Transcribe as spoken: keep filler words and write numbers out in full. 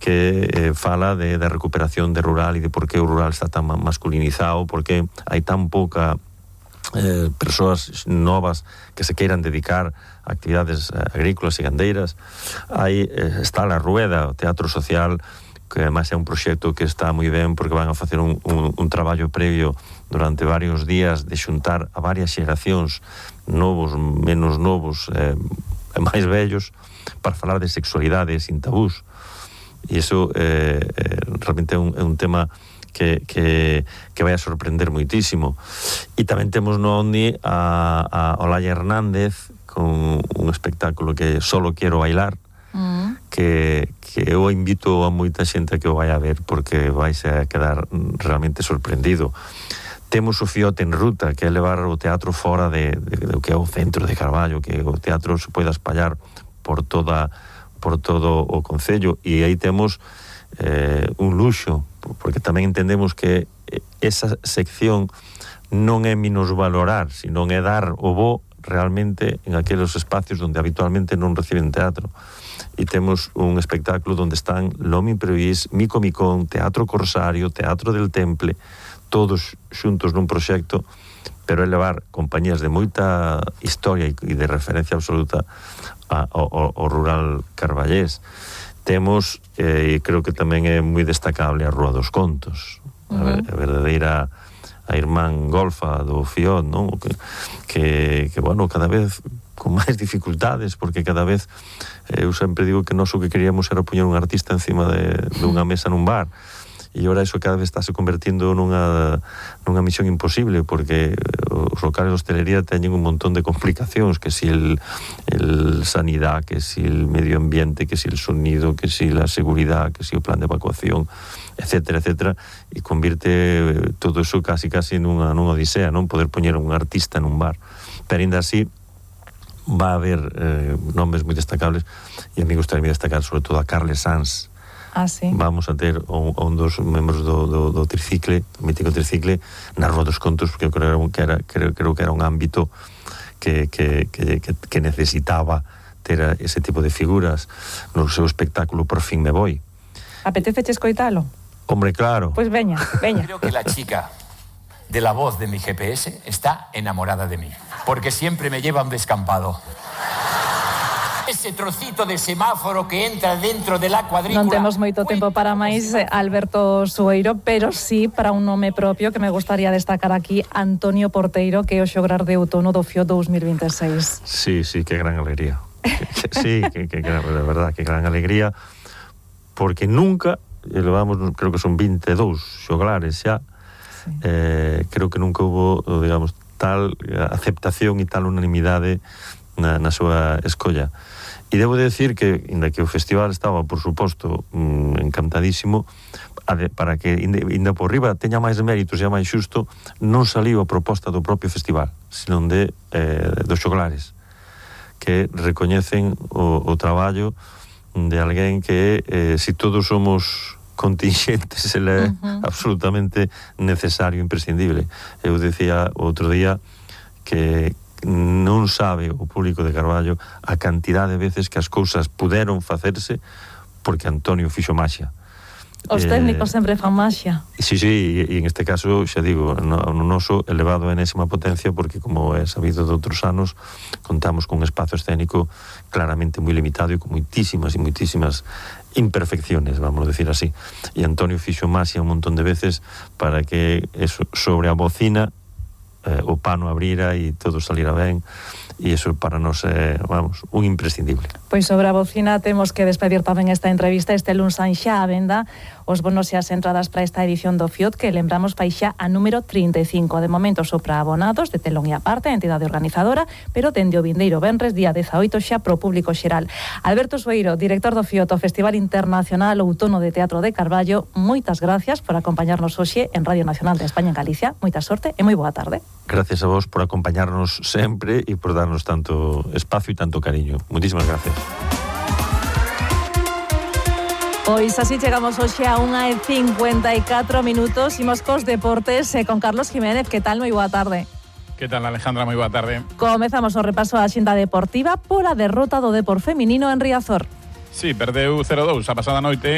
que eh, fala de, de recuperación de rural e de por que o rural está tan masculinizado, por que hai tan pouca eh, persoas novas que se queiran dedicar a actividades eh, agrícolas e gandeiras. Aí eh, está La Rueda, o teatro social, que además é un proxecto que está moi ben porque van a facer un, un, un traballo previo durante varios días de xuntar a varias xeracións, novos, menos novos, eh, máis vellos, para falar de sexualidade sin tabús. E iso eh, eh, realmente é un, é un tema que, que, que vai a sorprender moitísimo. E tamén temos no Ondi a, a Olaya Hernández con un espectáculo que Solo Quiero Bailar, mm. que, que eu invito a moita xente a que o vai a ver porque vais a quedar realmente sorprendido. Temos o Fiote en Ruta, que é levar o teatro fora de, de, de, de que é o centro de Carballo, que o teatro se poida espallar por toda por todo o concello, e aí temos eh, un luxo, porque tamén entendemos que esa sección non é minusvalorar, sino é dar o bo realmente en aqueles espacios onde habitualmente non reciben teatro. E temos un espectáculo onde están Lomi Imprevis, Mico Micón, Teatro Corsario, Teatro del Temple, todos xuntos nun proxecto, pero é levar compañías de moita historia e de referencia absoluta ao, ao rural carballés. Temos, e eh, creo que tamén é moi destacable, a Rúa dos Contos, uh-huh. a, a verdadeira a irmán golfa do Fiot, non? Que, que, que, bueno, cada vez con máis dificultades, porque cada vez eh, eu sempre digo que nós o que queríamos era poñer un artista encima de, de unha mesa nun bar, e ora iso cada vez está se convertindo nunha, nunha misión imposible, porque os locales de hostelería teñen un montón de complicacións, que si el, el sanidad, que si el medio ambiente, que si el sonido, que si la seguridad, que si o plan de evacuación, etcétera, etcétera, e convirte todo eso casi casi nunha, nunha odisea, non poder poñer un artista nun bar. Pero ainda así va a haber eh, nomes moi destacables, e a mí gustaría destacar sobre todo a Carles Sanz. Ah, sí. Vamos a ter un, un dos membros do, do, do tricicle, do mítico tricicle, na Rúa dos Contos, porque eu creo que era, creo, creo que era un ámbito que, que, que, que, que necesitaba ter ese tipo de figuras no seu espectáculo Por fin me voy. Apetece escoitalo? Hombre, claro. Pues veña, veña. Creo que la chica de la voz de mi G P S está enamorada de mí, porque siempre me lleva un descampado. Ese trocito de semáforo que entra dentro de la cuadrícula. Non temos moito tempo para máis, Alberto Sueiro, pero sí para un nome propio que me gustaría destacar aquí, Antonio Porteiro, que é o xograr de outono do Fiot dos mil veintiséis. Sí, sí, que gran alegría. Sí, que, que, que de verdad, que gran alegría, porque nunca, levamos, creo que son veintidós xoglares xa, sí. eh, creo que nunca hubo, digamos, tal aceptación e tal unanimidade na, na súa escolla. E debo decir que, inda que o festival estaba, por suposto, mmm, encantadísimo, para que, inda por riba, teña máis méritos e máis xusto, non saliu a proposta do propio festival, senón de eh, dos xoglares, que recoñecen o, o traballo de alguén que, eh, si todos somos contingentes, ele é uh-huh. absolutamente necesario, imprescindible. Eu decía outro día que non sabe o público de Carballo a cantidad de veces que as cousas puderon facerse porque Antonio fixo maxia. Os técnicos eh, sempre fan maxia. Sí, sí, e en este caso, xa digo, no, no noso elevado a enésima potencia, porque como é sabido de outros anos, contamos con un espazo escénico claramente moi limitado e con moitísimas e moitísimas imperfecciones, vamos a decir así. E Antonio fixo maxia un montón de veces para que eso, sobre a bocina Eh, o pano abrira e todo salira ben, e iso para nós é, vamos, un imprescindible. Pois sobre a bocina temos que despedir tamén esta entrevista. Este luns san xa a venda os bonos e as entradas para esta edición do Fiot, que lembramos fai xa a número trinta e cinco. De momento só para abonados de telón e aparte, a entidade organizadora, pero dende o vindeiro venres, día dezaoito, xa pro público xeral. Alberto Sueiro, director do Fiot, o Festival Internacional Outono de Teatro de Carballo, moitas gracias por acompañarnos hoxe en Radio Nacional de España en Galicia. Moita sorte e moi boa tarde. Gracias a vos por acompañarnos sempre e por darnos tanto espacio e tanto cariño. Muchísimas gracias. Pois así chegamos hoxe a unha e cincuenta e catro minutos. Imos cos deportes eh, con Carlos Jiménez. Que tal? Moi boa tarde. Que tal, Alejandra? Moi boa tarde. Comezamos o repaso á xenda deportiva por a derrota do Depor feminino en Riazor. Sí, perdeu cero dous a pasada noite